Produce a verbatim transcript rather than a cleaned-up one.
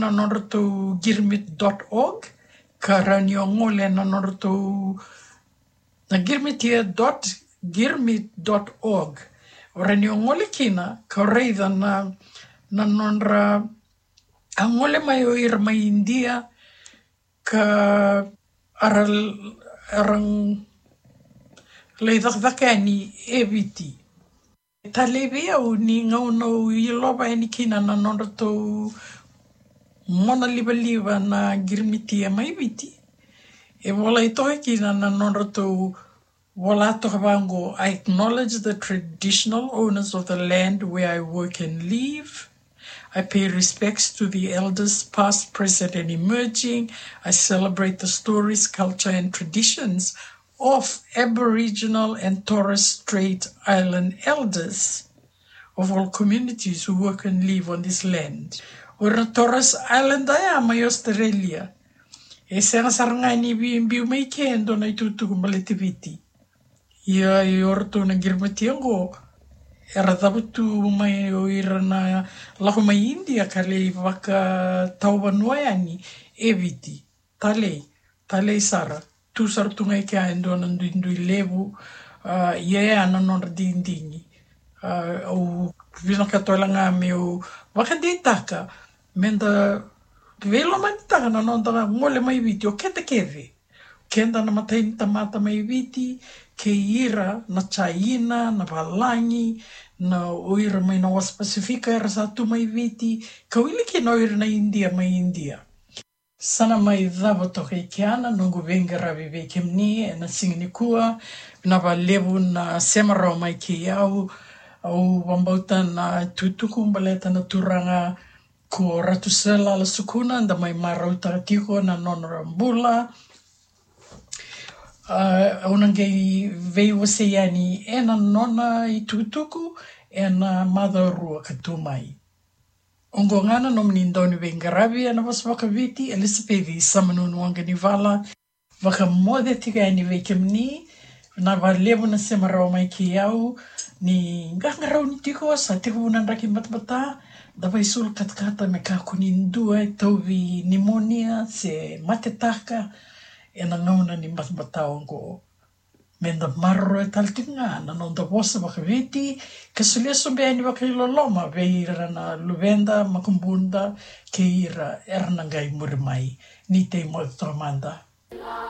na nodratou girmit dot org, ka rawa ni o gole na nodratou na girmitia dot girmit dot org. O rawa ni o gole kina ka raica na, na nodra a gole mai o ira mai India, ka a ra, a ra lai cakacaka yani e Viti. Talei vei au ni gauna au ilova yani kina na nodratou mona livaliva na girmitia mai Viti. E volai toka kina na nodratou vola toka vaqo: "I acknowledge the traditional owners of the land where I work and live. I pay respects to the elders, past, present, and emerging. I celebrate the stories, culture, and traditions of Aboriginal and Torres Strait Island elders of all communities who work and live on this land." O ira na Torres Islander ya mai Australia, e sega sara ga ni via biu mai ke e dua na itukutuku baleti Viti. Ia, o iratou na girmitia oqo era cavutu mai o ira na lako mai India ka lai vakatauvanua yani e Viti. Talei, talei sara. Tu sara tu ga i kea e dua na duidui levu. Ah, ia ya na nodra digidigi. Ah, au vinakata wale ga meu vakadeitaka meda veilomanitaka na noda gole mai Viti, o keda kece, keda na matai ni tamata mai Viti, kei ira na Jaina, na Valagi, na o ira mai na wasa Pasifika era sa tu mai Viti, ka wili kina o ira na India mai India. Sa na mai cava toka i kea na noqu veiqaravi vei kemuni ena siga nikua. Vinaka vakalevu na sema rawa mai kei au. Au vakabauta na itukutuku baleta na turaga ko Ratu Sir Lala Sukuna, da mai marautaka tiko na nona bula. Ah, au na qai veiwasei yani ena nona itukutuku ena macawa rua ka tu mai. Oqo ga na nomuni dau ni veiqaravi ena vosa vakaViti, Elisapeci Samanunu Waqanivala. Vakamoce tiko yani vei kemuni. Vinaka vakalevu na sema rawa mai kei au. Ni qaqarauni tiko, sa tekivu na draki batabata. Da vakaisulu katakata me kakua ni dua e tauvi nimonia se matetaka ena gauna ni batabata oqo. Meda maroroya tale tiko ga na noda vosa vakaViti, ka solia sobu yani vakailoloma vei ira na luveda, makubuda, kei ira era na qai muri mai. Ni tei moce toka mada.